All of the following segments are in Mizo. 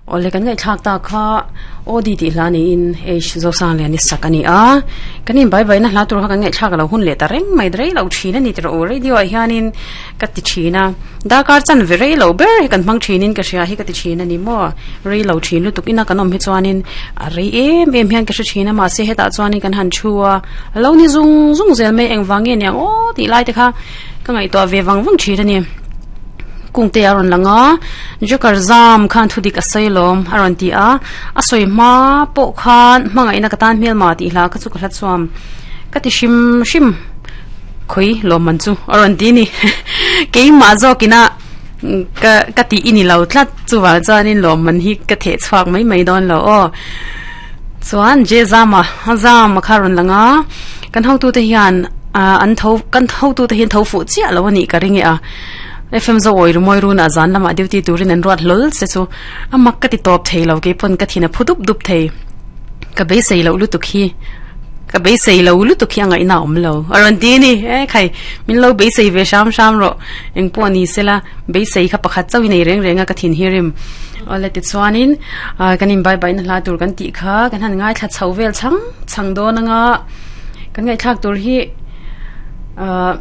Awle kan ngaihthlak tak kha Audi tih hla niin H Zosangliani sak a ni a, kan in bai baina hla tur kha kan ngaihthlak a lo hun leh ta reng mai rei lo thin a ni tih rawh u radio ah hianin ka ti thin a, darkar chan ve rei lo ber hi kan hmang thinin ka hria hi ka ti thin a ni maw, rei lo thin lutuk ina kan awm hi chuanin a rei em em hian ka hre thin a mahse hetah chuanin kan han thu a, a lo ni zung zung zel mai engvang nge niang aw tih lai te kha ka ngaihtuah ve vang vang thin a ni. Kungte a rawn lang a, Joker zam khan thudik a sawi lawm a rawn ti a, a sawi hma pawh khan hmangaihna ka tan hmelma tih hla kha chu ka hla chuam ka ti hrim hrim khawi lawm man chu a rawn ti ni keimah zawkina ka ka tih i ni lo tlat chuvang chuanin lawm man hi ka theh chhuak mai mai dawn lo aw chuan je zama zama kha a rawn lang a kan hotute hian an tho kan hotute hian tho fuh chiah lo a nih ka ring e a. FM zo awi rumawi runa zan lamah duty turin an ruat hlawl che chu a mak ka ti tawp thei lo keipaw'n ka thin a phu dup dup thei ka beisei loh lutuk hi ka beisei lo lutuk hi a ngaihna a awm lo a rawn ti a ni e khai min lo beisei ve hram hram rawh engpawh ni sela beisei kha pakhat chauh i nei reng reng a ka thin hi rim awle tichuanin ah kan inbai baihna hla tur kan tih kha kan han ngaithla chho vel chhang chhang dawn anga kan ngaihthlak tur hi ah.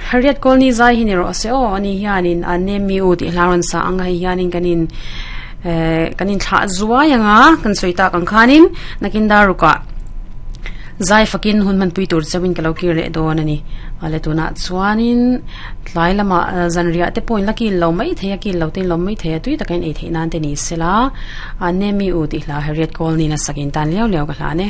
Harriet Colney zai hi ni rawh se aw ani hianin a name u tih hla rawn sa ang a hei hianin kan in eh kan in thlah zuai ang a kan sawi tak ang khanin nakin dar rukah zai fakin hun hmanpui tur chauhin ka lo kir leh dawn a ni awle tunah chuanin tlai lamah zanriah te pawhin la kil lo mai thei a kil lo te in lawm mai thei a tui taka in ei theih nan te ni sela a name u tih hla Harriet Colney-in a sak in tan liau liau ka hlan e.